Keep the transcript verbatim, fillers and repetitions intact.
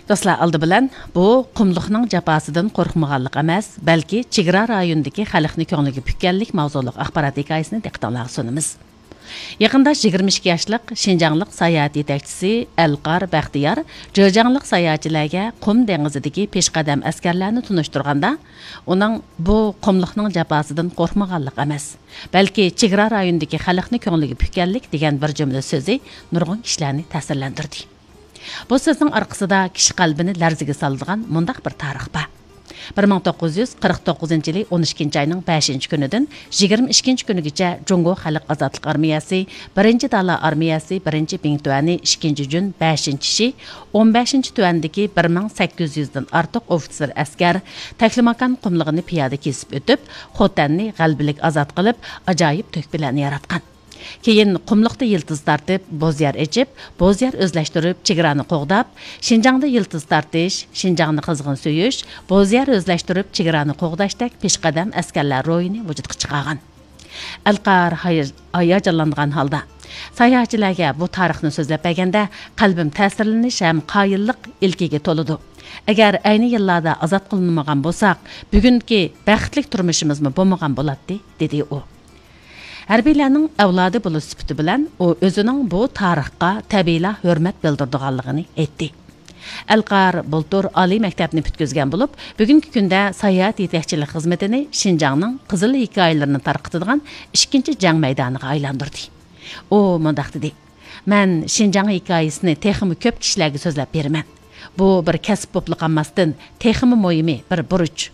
دوستلار، ئالدى بىلەن بۇ قۇملۇقنىڭ جاپاسىدىن قورقمىغانلىق ئەمەس، بەلكى چېگرا رايونىدىكى خەلقنى كۆڭلىگە پۈككەنلىك ماۋزۇلۇق ئاخبارات ھېكايىسىنى دىققىتىڭلارغا سۇنىمىز. يېقىندا يىگىرمە ئىككى ياشلىق شىنجاڭلىق ساياھەت يېتەكچىسى ئەلقار بەختىيار جېجياڭلىق ساياھەتچىلەرگە قۇم دېڭىزىدىكى پېشقەدەم ئەسكەرلەرنى تونۇشتۇرغاندا، ئۇنىڭ بۇ قۇملۇقنىڭ جاپاسىدىن قورقمىغانلىق ئەمەس، بەلكى چېگرا رايونىدىكى خەلقنى كۆڭلىگە پۈككەنلىك دېگەن بىر جۈملە سۆزى نۇرغۇن كىشىلەرنى تەسىرلەندۈردى. بۇ سۆزنىڭ ئارقىسىدا كىشى قەلبىنى لەرزىگە سالىدىغان مۇنداق بىر تارىخ بار. بىر مىڭ توققۇز يۈز قىرىق توققۇزىنچى يىلى ئون ئىككىنچى ئاينىڭ بەشىنچى كۈنىدىن يىگىرمە ئىككىنچى كۈنىگىچە جۇڭگو خەلق ئازادلىق ئارمىيەسى بىرىنچى دالا ئارمىيەسى بىرىنچى بىڭتۈەنى ئىككىنچى جۈن بەشىنچى شى ئون بەشىنچى تۈەندىكى بىر مىڭ سەككىز يۈزدىن ئارتۇق ئوفىتسېر ئەسكەر تەكلىماكان قۇملۇقىنى پىيادە كېسىپ ئۆتۈپ، خوتەننى غەلىبىلىك ئازاد قىلىپ، ئاجايىپ تۆھپىلەرنى ياراتقان. كېيىن قۇملۇقتا يىلتىز تارتىپ، بوزيەر ئېچىپ، بوزيەر ئۆزلەشتۈرۈپ، چېگرانى قوغداپ، شىنجاڭدا يىلتىز تارتىش، شىنجاڭنى قىزغىن سۆيۈش، بوزيەر ئۆزلەشتۈرۈپ، چېگرانى قوغداشتەك پېشقەدەم ئەسكەرلەر روھىنى ۋۇجۇدقا چىقارغان. ئەلقار ھاي-، ھاياجانلانغان ھالدا، ساياھەتچىلەرگە بۇ تارىخنى سۆزلەپ بەرگەندە، قەلبىم تەسىرلىنىش ھەم قايىللىق ئىلكىگە تولىدۇ. ئەگەر ئەينى يىللاردا ئازاد قىلىنمىغان بولساق، بۈگۈنكى بەختلىك تۇرمۇشىمىزمۇ بولمىغان بولاتتى، دېدى ئۇ. ھەربىيلەرنىڭ ئەۋلادى بولۇش سۈپىتى بىلەن ئۇ ئۆزىنىڭ بۇ تارىخقا تەبىئىيلا ھۆرمەت بىلدۈرىدىغانلىقىنى ئېيتتى. ئەلقار بۇلتۇر ئالىي مەكتەپنى پۈتكۈزگەن بولۇپ، بۈگۈنكى كۈندە ساياھەت يېتەكچىلىك خىزمىتىنى شىنجاڭنىڭ قىزىل ھېكايىلىرىنى تارقىتىدىغان ئىككىنچى جەڭ مەيدانىغا ئايلاندۇردى. ئۇ مۇنداق دېدى: مەن شىنجاڭ ھېكايىسىنى تېخىمۇ كۆپ كىشىلەرگە سۆزلەپ بېرىمەن. بۇ بىر كەسىپ بولۇپلا قالماستىن، تېخىمۇ مۇھىمى بىر بۇرچ.